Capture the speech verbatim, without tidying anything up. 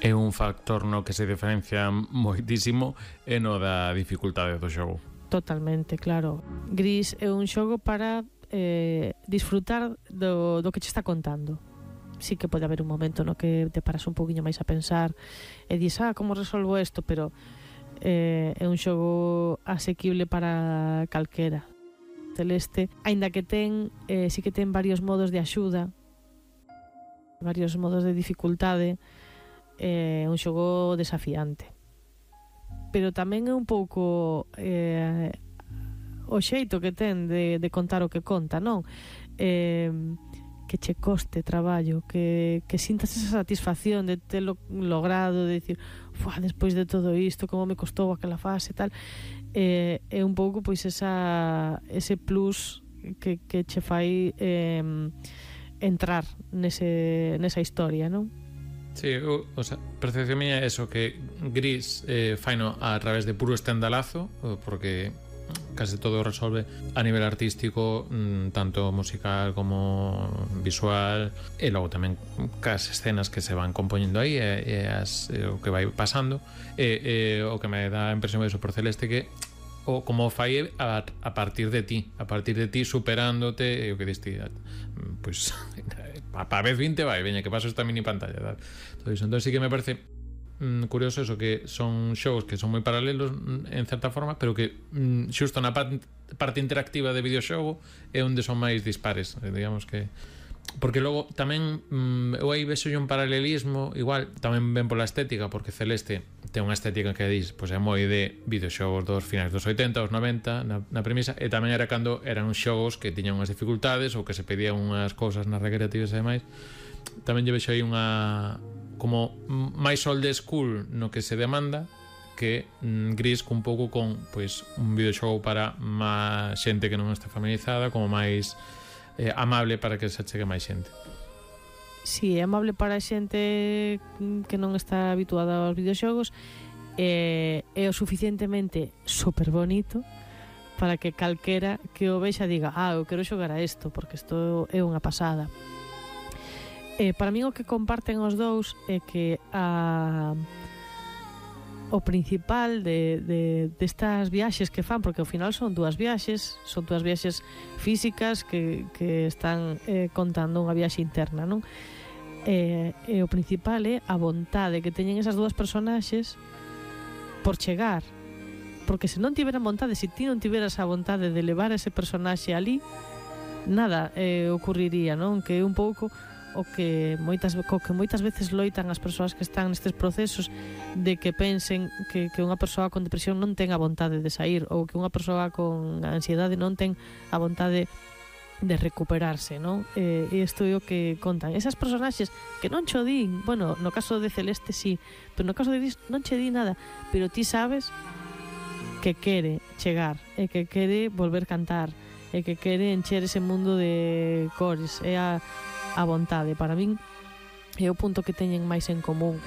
É un factor no que se diferencia moitísimo e no da dificultade do xogo. Totalmente, claro. Gris é un xogo para eh, disfrutar do, do que che está contando. Sí que pode haber un momento no que te paras un poquinho máis a pensar e dis, ah, como resolvo isto, pero eh, é un xogo asequible para calquera. Celeste, aínda que ten eh, sí que ten varios modos de axuda, varios modos de dificultade, é eh, un xogo desafiante, pero tamén é un pouco eh, o xeito que ten de, de contar o que conta, non? Eh, que che coste traballo, que, que sintas esa satisfacción de telo logrado, de dicir, fuá, despois de todo isto, como me costou aquela fase e tal. Eh, é un pouco pois esa, ese plus que, que che fai eh, entrar nese, nesa historia, non? Sí, o, o sea, percepción miña é eso, que Gris eh, faino a través de puro estendalazo, porque case todo resolve a nivel artístico, mmm, tanto musical como visual, e logo tamén cas escenas que se van compoñendo aí e, e as, e o que vai pasando, e, e o que me dá a impresión de eso por Celeste, que o como fai a, a partir de ti, a partir de ti superándote, e o que diste, pois a pa vez vinte vai, veña que paso esta mini pantalla, tal. Todo iso. Entón sí que me parece mm, curioso eso, que son xogos que son moi paralelos en certa forma, pero que mm, xusto na parte, parte interactiva de videoxogo é onde son máis dispares, digamos que porque logo tamén mm, eu aí vexo un paralelismo, igual tamén ven pola estética, porque Celeste ten unha estética que dis, pois é moi de videoxogos dos finais dos oitenta, os noventa na, na premisa, e tamén era cando eran uns xogos que tiñan unhas dificultades ou que se pedían unhas cousas nas recreativas e demais. Tamén lle vexo aí unha como máis old school no que se demanda, que mm, Gris un pouco con pois un videoxogo para máis xente que non está familiarizada, como máis eh, amable para que se achegue máis xente. Si, sí, é amable para a xente que non está habituada aos videoxogos, e é o suficientemente super bonito para que calquera que o vexa diga, ah, eu quero xogar a isto, porque isto é unha pasada. Eh, para mí o que comparten os dous é que a o principal de, de, destas viaxes que fan, porque ao final son dúas viaxes, son dúas viaxes físicas que, que están eh, contando unha viaxe interna, non? E, e o principal é a vontade que teñen esas dúas personaxes por chegar, porque se non tiveran vontade, se ti non tiveras a vontade de levar ese personaxe ali, nada eh, ocurriría, non? Que é un pouco o que moitas, co que moitas veces loitan as persoas que están nestes procesos, de que pensen que, que unha persoa con depresión non ten a vontade de sair, ou que unha persoa con ansiedade non ten a vontade de recuperarse, non? E isto é o que contan esas personaxes que non cho din, bueno, no caso de Celeste sí, pero no caso de Gris non che di nada, pero ti sabes que quere chegar e que quere volver cantar e que quere encher ese mundo de cores, é a a vontade. Para min é o punto que teñen máis en común.